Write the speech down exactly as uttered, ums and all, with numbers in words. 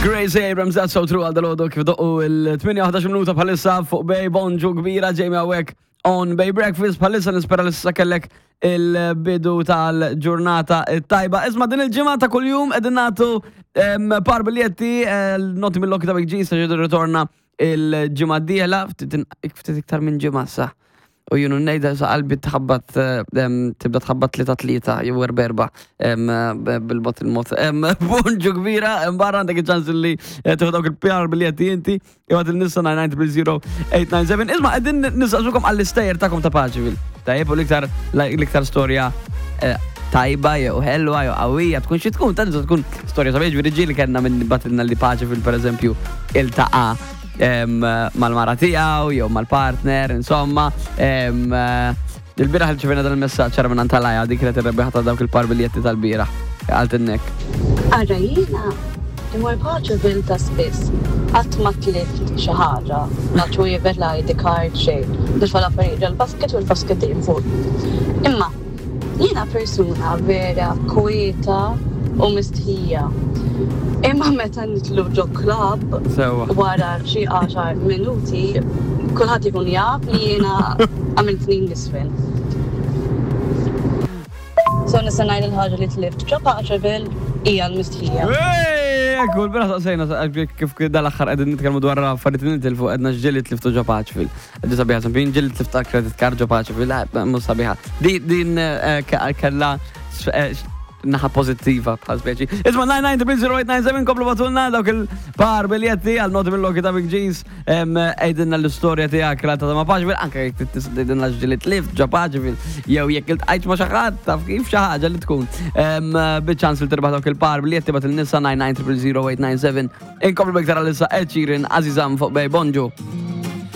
Grace Abrams, That's So True, għal dalgħodu kif doqqu il-tmienja minuta bħalissa fuq Bay. Bonġu kbira, Jamie hawnhekk on Bay Breakfast bħalissa. Nispera li s'issa kellek il-bidu tal-ġurnata tajba. Isma', din il-ġimgħa ta' kuljum qegħdin nagħtu par biljetti Naughty Mill-Lucky ta' Big G se ġidu ritorna il-ġimgħa d-dieħla, ftit iktar minn ġimgħa sa. U junu nejda sa qalbi tħabbat, tibda tħabbat tlieta tlieta jew erba erba bil-bot il-mot. Bonġu kbira, barra għandek il-ċans li tieħu dawk il-par biljetti inti, ibgħat il-nissa nine nine zero zero eight nine seven. Isma', qegħdin nistaqsukom għall-istejjer tagħkom ta' Paceville. Tajjeb, u l-iktar l-iktar storja eh, tajba jew ħelwa jew qawwija, tkun xi tkun, tant tkun storja sabiħ, ġifieri ġieli kellna minn bagħtilna li Paceville, pereżempju, iltaqa' mal-mara tiegħu jew mal-partner, insomma. Il-bieraħ irċevejna dan il-messaġġ ċara minn Antalaja, dik kienet ir-rebbieħa ta' dawk il-par biljetti tal-bieraħ. Għalt innek. Ara, jiena immur Paceville ta' spiss, qatt ma tlift xi ħaġa, la ċwievet, la I D card, xejn. Nitfa' l-affarijiet ġol-basket u l-basket dejjem fuq. Imma jiena persuna vera kwieta u mistħija. Imma meta nidħlu ġo club, Sewa. wara xi għaxar minuti, kulħadd ikun jaf li jiena għamilt snin nisfel. So nista' ngħid il-ħaġa li tlift ġo Paceville hija l-mistħija. Ekku, l-bieraħ saqsejna kif dal-aħħar qegħdin nitkellmu dwar affarijiet li nitilfu, għedna ġieli tliftu ġo Paceville. Għeddu sabiħa, sabiħin ġieli tlifta credit card ġo Paceville, mhux sabiħa. Din eh, kella eh, naħa pozittiva bħal speċi. Isma', nine nine zero zero eight nine seven, komplu ibgħatulna dawk il-par biljetti għal Naughty Mill-Lucky ta' Big G's. Għidilna l-istorja tiegħek relatata ma' Paceville, anke jekk tgħidilna ġieli tlift ġo Paceville, jew jekk iltqajt ma' xi ħadd, taf kif, xi ħaġa li tkun. Biċ-ċans li tirbaħ dawk il-par biljetti, ibgħat il-nissa nine nine zero zero eight nine seven. Inkomplu biktar għalissa Ed Sheeran, Azizam fuq Bay. Bonġu.